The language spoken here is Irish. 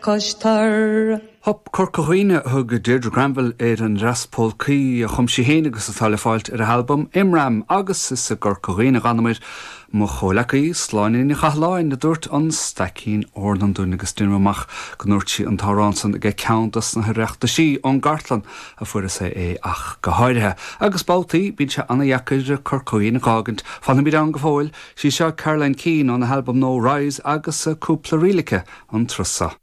cois tor. Hop Corca Dhuibhne a thug Deirdre Granville ar an ndreas pólcaí a chum sí féin agus atá le fáilt ar a halbam Imram agus is i gCorca Dhuibhne a d'fhanamair, mo chomhleacaí, Sláine Ní Chathalláin, a dúirt an Staicín Eornan dúinn agus deinim amach go ndúirt sí an t-amhrán san ag ceann dos na hOireachtaisí, ón gcartlann a fuaireas é ach go háirithe. Agus babhtaí bíonn sé ana-dheacair Corca Dhuibhne a dh'fhágaint. Fanfaimid ann go fóill. Sí seo Caroline Keane óna halbam nua Rise agus cúpla ríl aici an turas seo.